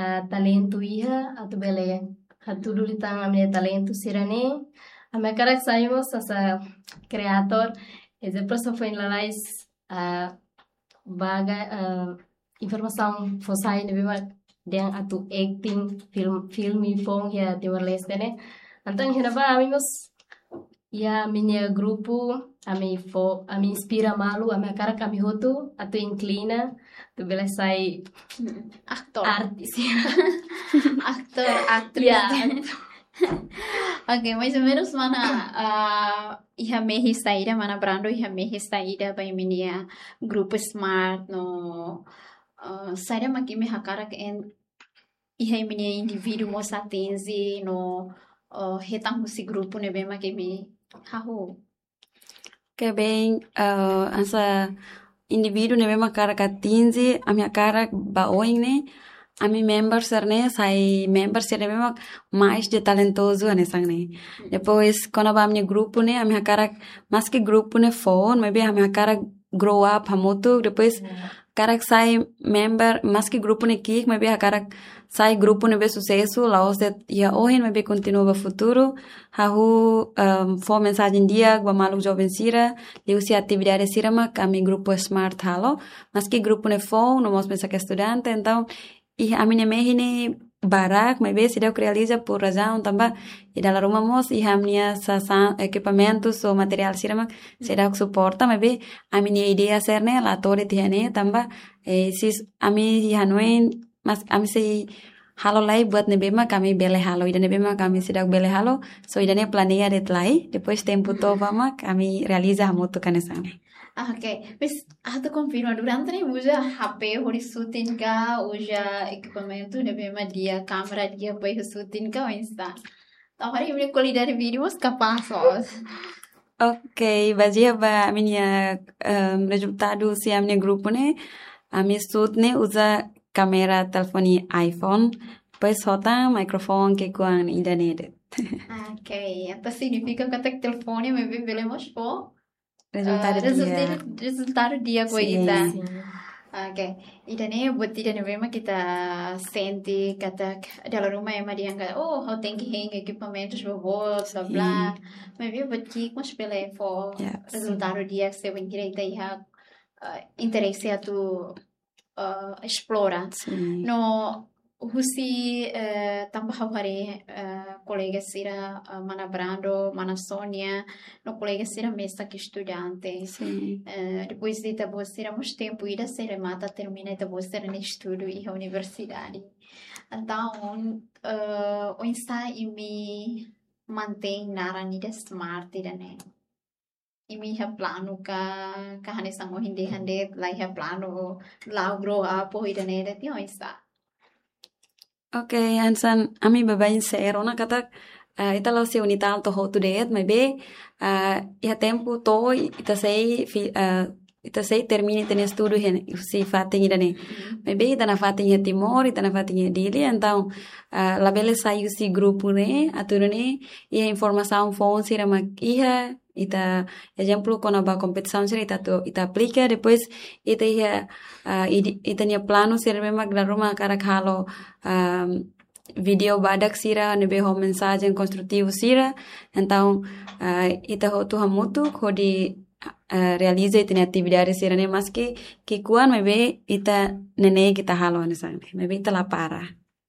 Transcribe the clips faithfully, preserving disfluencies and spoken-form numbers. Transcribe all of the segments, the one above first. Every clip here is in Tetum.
ah, talentu iha, atu bele hatudu liután ami-nia talentu sira-ne'e. Ami hakarak sai mós hanesan kreadór, ezemplu, hanesan foin lalais, ah, baga, ah, informasaun fó sai ne'ebé mak dehan atu acting, film, filme foun iha Timor-Leste ne'e. Entaun iha ne'ebá ami mós iha ami-nia grupu, ami fó, ami inspira malu, ami hakarak ami hotu atu inklina atu bele sai aktór. Artis. Aktór, aktris. Ya. Oke, mais ou menus mana, ah, iha mehi saida, mana Brando iha mehi saida ba imi-nia grupu Smart no, ah, saida mak imi hakarak en iha imi-nia indivíduu mós atinje no, ah, hetan husi grupu ne'ebé mak imi hahú? Oke, bem, ah, hanesan indivíduu ne'ebé mak hakarak atinje, ami hakarak ba oin ne'e, ami member sira-ne'e, sai member sira ne'ebé mak mais de talentozu hanesan ne'e. Depois, kona-ba ami-nia grupu ne'e, ami hakarak, maski grupu ne'e foun, maibé ami hakarak grow up hamutuk, depois hakarak sai member, maski grupu ne'e ki'ik, maibé hakarak sai grupu ne'ebé susesu, la'ós de'it iha ohin, maibé kontinua ba futuru. Hahú, ehm, fó mensajen di'ak ba maluk joven sira, liuhusi atividade sira mak ami grupu Smart halo, maski grupu ne'e foun, no mós mesak estudante, entaun, iha ami-nia mehi ne'e barak, maibé seidauk realiza por razaun tanba, i dala ruma mós, iha ami-nia sasán, ekipamentu, no materiál sira mak, seidauk suporta, maibé, ami-nia ideia sira-ne'e, la to'o de'it iha ne'e, tanba, eh, se ami hanoin, mas ami sei halo lai buat ne'ebé mak ami bele halo, ida ne'ebé mak ami seidauk bele halo, so ida-ne'e planeia de'it lai, depois tempu to'o bá mak ami realiza hamutuk hanesan ne'e. Ah, oke. Mas, atu konfirma, durante ne'e uza H P hodi shooting ka, uza ekipamentu ne'ebé mak di'ak, kámera di'ak, apoiu shooting ka, oinsá? Entaun, haree imi-nia kualidade vídeu mós kapás, ó. Oke, bazeia ba ami-nia, em, rezultadu husi ami-nia grupu ne'e, ami shoot ne'e uza kámera telefone iPhone, depois hotu mikrofone ki'ikoan ida-ne'e de'it. Oke, entaun signifika katak telefone ne'ebé bele mós fó rezultadu, ah, rezultadu di'ak. Rezultadu di'ak ho ita. Sin. Sin. Oke. Ida-ne'e buat ida ne'ebé mak ita sente katak dala ruma ema dehan katak, oh, ha'u tenke hein ekipamentus boboot, bla, bla. Sin. Maibé buat ki'ik mós bele fó, ya, sin, rezultadu di'ak se bainhira ita iha, ah, interese atu, ah, esplora. Sin. No husi, eh, tanba ha'u haree, eh, kolega sira, eh, mana Brando, mana Sónia, no kolega sira mesak estudante. Sin. Eh, depois de ita-boot sira mós tempu ida sei remata, termina ita-boot sira-nia estudu iha universidade. Entaun, eh, oinsá imi mantein naran ida Smart ida-ne'e? Imi iha planu ka, ka hanesan ohin dehan de'it, la iha planu, la'o grow up ho ida-ne'e de'it, oinsá? Oke, hanesan ami baibain sei rona katak, eh, ita la'ós iha UNITAL to'o hotu de'it, maibé, eh, iha tempu to'o ita sei fi-, eh, ita sei termina ita-nia estudu iha ne'e, husi fatin ida-ne'e. Mhm. Maibé ita nafatin iha Timor, ita nafatin iha Dili, entaun, eh, labele sai husi grupu ne'e, atu nune'e, iha informasaun foun sira mak iha, ita, ezemplu, kona-ba kompetisaun sira ita atu, ita aplika, depois ita iha, ah, ide-, ita-nia planu sira ne'ebé mak dala ruma hakarak halo, ah, vídeu badak sira ne'ebé ho mensajen konstrutivu sira. Entaun, ah, ita hotu hamutuk hodi, ah, realiza ita-nia atividade sira-ne'e maski ki'ikoan maibé ita nune'e ita halo hanesan ne'e. Maibé ita la para.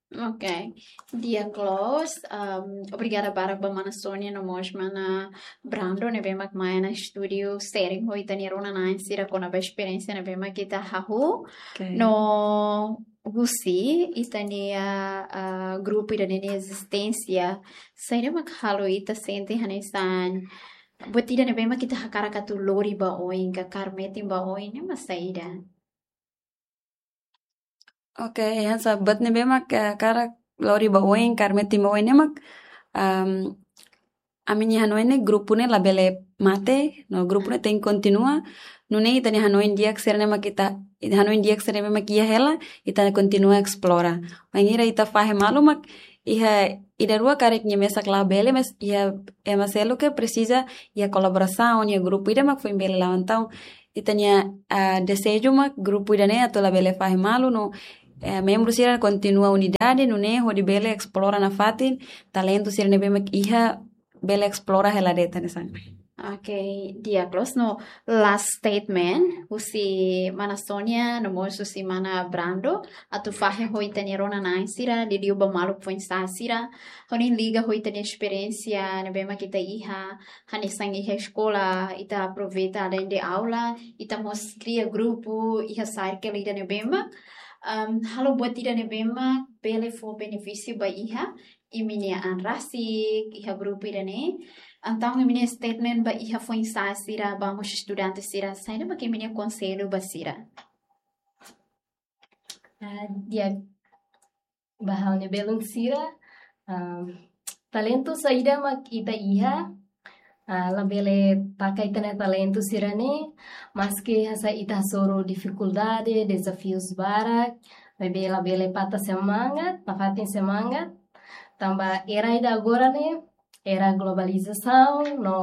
Oke. Di'ak loos, um, obrigada barak ba mana Sónia no mós mana Brando ne'ebé mak mai ona estúdiu sharing ho ita-nia rona-na'in sira kona-ba esperiénsia ne'ebé mak ita hahú. Oke. No husi ita-nia, ah, grupu ida-ne'e nia ezisténsia, saida mak halo ita sente hanesan buat ida ne'ebé mak ita hakarak atu lori ba oin ka kaer metin ba oin ne'e mak saida? Oke, hanesan buat ne'ebé mak, eh, hakarak lori ba oin, kaer metin ba oin ne'e mak, em, ami-nia hanoin ne'e grupu ne'e labele mate, no grupu ne'e tenke kontinua, nune'e ita-nia hanoin di'ak sira ne'e mak ita, ita hanoin di'ak sira ne'e mak iha hela, ita kontinua esplora. Bainhira ita fahe malu mak, iha ida rua karik nia mesak labele, mas iha ema seluk ke presiza iha kolaborasaun, iha grupu ida mak foin bele la'o. Entaun, ita-nia, ah, dezeju mak grupu ida-ne'e atu labele fahe malu no eh, membru sira kontinua unidade, nune'e hodi bele esplora nafatin talentu sira ne'ebé mak iha, bele esplora hela de'it hanesan. Oke, di'ak loos. No last statement husi mana Sonia no mós husi mana Brando, atu fahe ho ita-nia rona-na'in sira, liuliu ba maluk foin-sa'e sira, hodi liga ho ita-nia esperiénsia ne'ebé mak ita iha, hanesan iha eskola, ita aproveita além de aula, ita mós kria grupu, iha circle ida ne'ebé mak, um, halo buat ida ne'ebé mak bele fó benefísiu ba iha imi-nia an rasik, iha grupu ida-ne'e. Entaun imi-nia statement ba iha foin-sa'e sira, ba mós estudante sira, saida mak imi-nia konsellu ba sira? Ah, di'ak, ba ha'u-nia belun sira, ah, talentu saida mak ita iha, ah, labele taka ita-nia talentu sira-ne'e, maski hanesan ita hasoru difikuldade, dezafius barak, maibé labele patah semangat, nafatin semangat, tanba era ida agora ne'e, era globalizasaun, no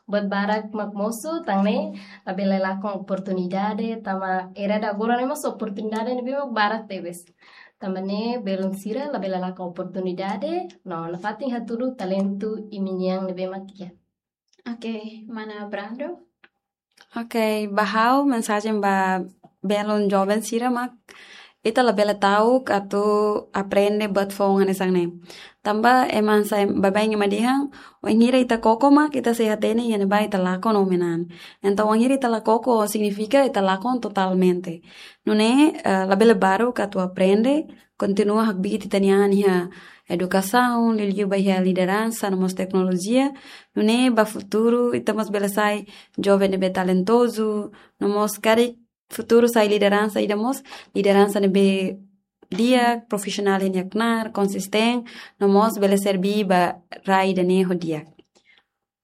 buat barak mak mosu, tan ne'e labele lakon oportunidade, tanba era ida agora ne'e mós oportunidade ne'ebé mak barak tebes. Tanba ne'e belun sira labele lakon oportunidade, no nafatin hatudu talentu imi-nian ne'ebé mak iha. Oke, mana Brando? Oke, ba ha'u mensajen ba belun joven sira mak ita labele ta'uk atu aprende buat foun hanesan ne'e. Tanba ema hanesan baibain ema dehan, wainhira ita koko mak ita sei hatene iha ne'ebá ita lakon no menan. Entaun wainhira ita la koko signifika ita lakon totalmente. Nune'e, eh, labele baruk atu aprende, kontinua hakbiit ita-nia an iha edukasaun, liuliu ba iha lideransa, no mós teknolojia. Nune'e ba futuru ita mós bele sai joven ne'ebé talentozu, no mós karik futuru sai lideransa ida mós, lideransa ne'ebé di'ak, profisionál iha nia knaar, konsistente, no mós bele serví ba rai ida-ne'e ho di'ak.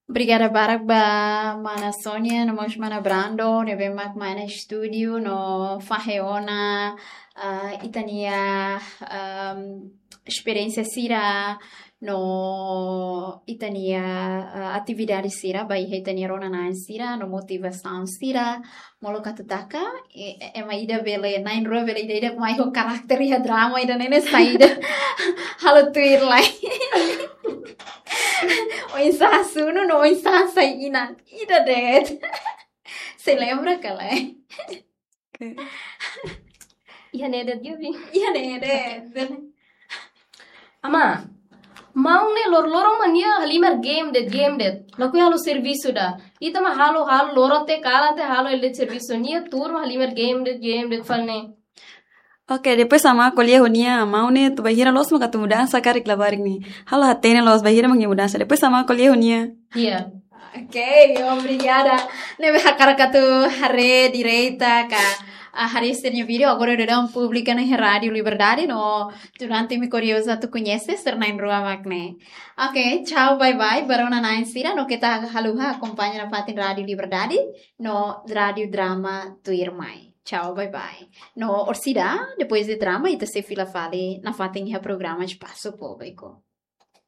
Obrigada barak ba mana Sonia, no mós mana Brando, ne'ebé mak mai iha estúdiu, no fahe ona, ah, ita-nia, ahm, esperiénsia sira, no ita-nia, ah, atividade sira, ba iha ita-nia rona-na'in sira, no motivasaun sira, molok atu taka, e, e, ema ida bele, na'in-rua bele ida-idak mai ho karakter iha drama ida-ne'e ne'e saida. Halo tuir lai. Oinsá sunu no oinsá sai inan. Ida de'it. Sei lembra ka lae? Oke. Iha ne'e de'it, Gabi. Iha ne'e de'it. Ama, maun ne'e lor-loron mak nia halimar game de'it, game de'it. Lakohi halo servisu ida. Ita mak halo, halo loron até kalan até halo hela de'it servisu, nia tuur mak halimar game de'it, game de'it fali ne'e. Oke, depois Ama ko'alia ho nia, maun ne'e atu bainhira loos mak atu mudansa karik labarik ne'e. Ha'u la hatene loos bainhira mak nia mudansa. Depois Ama ko'alia ho nia. Iya. Oke, obrigada. Ne'ebé hakarak atu haree direta ka, ah, haree sira-nia vídeo agora daudaun publika iha Rádiu Liberdade, no durante imi kuriozu atu koñese sira na'in-rua mak ne'e. Oke, tchau, bye bye ba rona-na'in sira, no keta haluha akompaña nafatin Rádiu Liberdade no Rádiu Drama tuirmai. Tchau, bye bye. No orsida, depois de drama, ita sei fila fali nafatin iha programa Espasu Públiku.